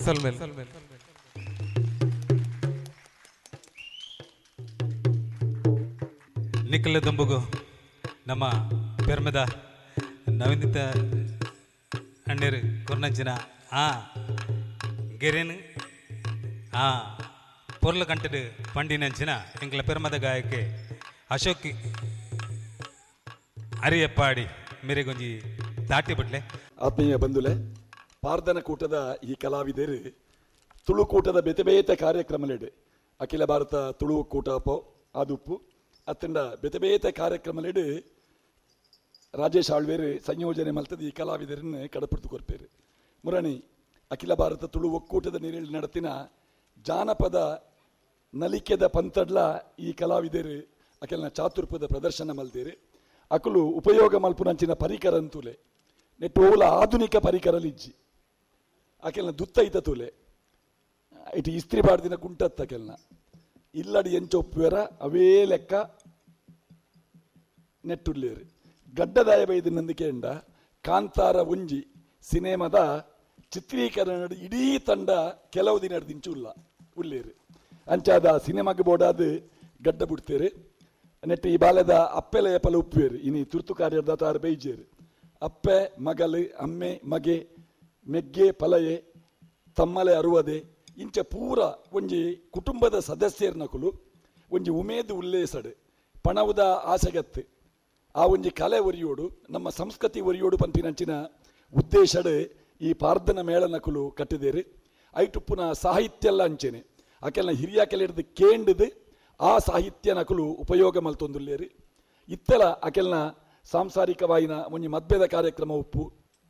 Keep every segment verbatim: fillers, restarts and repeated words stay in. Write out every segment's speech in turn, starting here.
ಸೊಲ್ಮೆಲ್. ನಿಖಲ ದುಂಬುಗು ನಮ್ಮ ಪೆರ್ಮೆದ ನವೀನಿತ ಅಣ್ಣೇರು ಕೊರ್ನಂಚಿನ ಆ ಗೆರೆನ್ ಆ ಪೊರ್ಲು ಕಂಟೆಡ್ ಪಂಡಿನಂಚಿನ ಎಂಕ್ಲ ಪೆರ್ಮದ ಗಾಯಕೆ ಅಶೋಕ್ ಅರಿಯಪ್ಪಾಡಿ ಮೇರೆಗೊಂಜಿ ತಾಟಿ ಬಿಡ್ಲೆ. ಆತ್ಮೀಯ ಬಂಧುಲೆ, ಪಾರ್ದನ ಕೂಟದ ಈ ಕಲಾವಿದರು ತುಳುಕೂಟದ ಬೇತೆ ಬೇತೆ ಕಾರ್ಯಕ್ರಮಲೆಡ್ ಅಖಿಲ ಭಾರತ ತುಳು ಕೂಟ ಅಪೋ ಆದುಪ್ಪು ಅತ್ತಂಡ ಬೇತೆ ಬೇತೆ ಕಾರ್ಯಕ್ರಮಲೆಡ್ ರಾಜೇಶ್ ಆಳ್ವೇರು ಸಂಯೋಜನೆ ಮಲ್ತದ ಈ ಕಲಾವಿದರನ್ನು ಕಡಪುಡ್ತು ಕೊರ್ಪೇರು. ಮುರಣಿ ಅಖಿಲ ಭಾರತ ತುಳು ಒಕ್ಕೂಟದ ನೀರಲ್ಲಿ ನಡತಿನ ಜಾನಪದ ನಲಿಕೆದ ಪಂತಡ್ಲ ಈ ಕಲಾವಿದರು ಅಖಿಲನ ಚಾತುರ್ಪದ ಪ್ರದರ್ಶನ ಮಲ್ದೇರು. ಅಕುಲು ಉಪಯೋಗ ಮಲ್ಪುನಂಚಿನ ಪರಿಕರ ಅಂತೂಲೆ ನೆಟ್ಟು ಓಲ ಆಧುನಿಕ ಪರಿಕರ ಲಿಜ್ಜಿ ಅಕೆಲ್ನ ದುತ್ತ ಐತ ತೂಲೆ ಇಟ್ಟು ಇಸ್ತ್ರಿ ಬಾಡ್ದಿನ ಕುಂಟತ್ತ ಅಕೆಲ್ನ ಇಲ್ಲಡಿ ಎಂಚೊಪ್ಪುವೆರ ಅವೇ ಲೆಕ್ಕ ನೆಟ್ಟುಲ್ಲೇರು. ಗಡ್ಡದಾಯ ಬೈದು ನಂದಿಕೆಂಡ ಕಾಂತಾರ ಒಂಜಿ ಸಿನಿಮಾದ ಚಿತ್ರೀಕರಣ ಇಡೀ ತಂಡ ಕೆಲವು ದಿನ ದಿಂಚು ಉಲ್ಲ ಉಲ್ಲೇರು. ಅಂಚಾದ ಸಿನಿಮಾಗೆ ಬೋಡಾದ ಗಡ್ಡ ಬಿಡ್ತೇರು. ನೆಟ್ಟು ಈ ಬಾಲ್ಯದ ಅಪ್ಪೆಲ ಎಪ್ಪಲ ಉಪ್ಪುವೇರು. ಇನಿ ತುರ್ತು ಕಾರ್ಯದ ತಾರು ಬೈಜೇರು. ಅಪ್ಪೆ ಮಗಲು ಅಮ್ಮೆ ಮಗೆ ಮೆಗ್ಗೆ ಪಲಯೆ ತಮ್ಮಲೆ ಅರುವದೆ ಇಂಚ ಪೂರ ಒಂಜಿ ಕುಟುಂಬದ ಸದಸ್ಯರ್ನಕುಲು ಒಂಜಿ ಉಮೇದು ಉಲ್ಲೇಸಡು ಪಣವುದ ಆಸೆಗತ್ತು ಆ ಒಂಜಿ ಕಲೆ ಒರಿಯೋಡು ನಮ್ಮ ಸಂಸ್ಕೃತಿ ಒರಿಯೋಡು ಪಂಪಿನಂಚಿನ ಉದ್ದೇಶಡು ಈ ಪಾರ್ದನ ಮೇಳನಕುಲು ಕಟ್ಟಿದೇರು. ಐಟುಪ್ಪುನ ಸಾಹಿತ್ಯ ಎಲ್ಲ ಅಂಚೆನೆ ಅಕೆಲ್ನ ಹಿರಿಯ ಕೆಲ ಹಿಡಿದು ಕೇಂಡದು ಆ ಸಾಹಿತ್ಯ ನಕಲು ಉಪಯೋಗ ಮಲ್ತೊಂದುಲ್ಲೇರು. ಇತ್ತೆಲ ಅಕೆಲ್ನ ಸಾಂಸಾರಿಕವಾಯಿನ ಒಂಜಿ ಮದ್ವೆದ ಕಾರ್ಯಕ್ರಮ ಉಪ್ಪು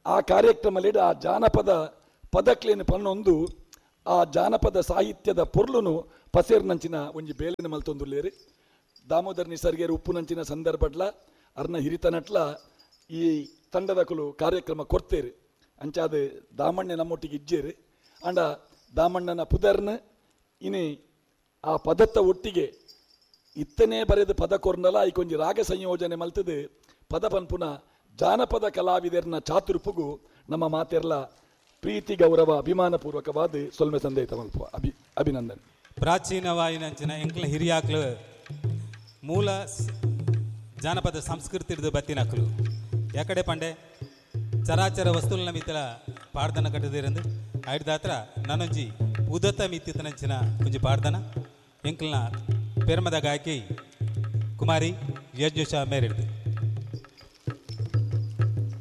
ಆ ಕಾರ್ಯಕ್ರಮಲೇಡು ಆ ಜಾನಪದ ಪದಕ್ಲೇನು ಪನ್ನೊಂದು ಆ ಜಾನಪದ ಸಾಹಿತ್ಯದ ಪೊರ್ಲುನು ಪಸೇರ್ನಂಚಿನ ಒಂಜಿ ಬೇಲೆನ ಮಲ್ತೊಂದುಲ್ಲೇರು. ದಾಮೋದರ್ ನಿಸರ್ಗೇರು ಉಪ್ಪುನಂಚಿನ ಸಂದರ್ಭಡ್ಲ ಅರ್ನ ಹಿರಿತನಟ್ಲ ಈ ತಂಡದಕುಲು ಕಾರ್ಯಕ್ರಮ ಕೊರ್ತೇರು. ಅಂಚಾದ ದಾಮಣ್ಣ ನಮ್ಮೊಟ್ಟಿಗೆ ಇಜ್ಜೇರು. ಅಂಡ ದಾಮಣ್ಣನ ಪುದರ್ನ ಇನಿ ಆ ಪದತ್ತ ಒಟ್ಟಿಗೆ ಇತ್ತನೇ ಬರೆದು ಪದ ಕೊರ್ನಲ ಐಕೊಂಜಿ ರಾಗ ಸಂಯೋಜನೆ ಮಲ್ತದು ಪದ ಪನ್ಪುನ ಜಾನಪದ ಕಲಾವಿದರ್ನ ಚಾತುರ್ಪುಗು ನಮ್ಮ ಮಾತೆರ್ಲ ಪ್ರೀತಿ ಗೌರವ ಅಭಿಮಾನ ಪೂರ್ವಕವಾದ ಸೊಲ್ಮೆ ಸಂದೇತ ಮಲ್ಪ ಅಭಿ ಅಭಿನಂದನೆ. ಪ್ರಾಚೀನವಾಯಿನಂಚಿನ ಎಂಕ್ಲ ಹಿರಿಯಾಕ್ಲು ಮೂಲ ಜಾನಪದ ಸಂಸ್ಕೃತಿ ಹಿಡಿದು ಬತ್ತಿನಕ್ಲು ಯಾಕಡೆ ಪಂಡೆ ಚರಾಚರ ವಸ್ತುಲನ ಮಿತ್ತಲ ಪಾಡ್ದನ ಕಟ್ಟದಿರಂದು ಐಡ್ದಾತ್ರ ನಾನೊಂಜಿ ಉದತ ಮಿತ್ತಿತನಂಚಿನ ಒಂಜಿ ಪಾಡ್ದನ ಎಂಕ್ಲನ ಪೆರ್ಮದ ಗಾಯಕಿ ಕುಮಾರಿ ಯಜ್ಞುಷ ಮೇರಿಡ್ದು.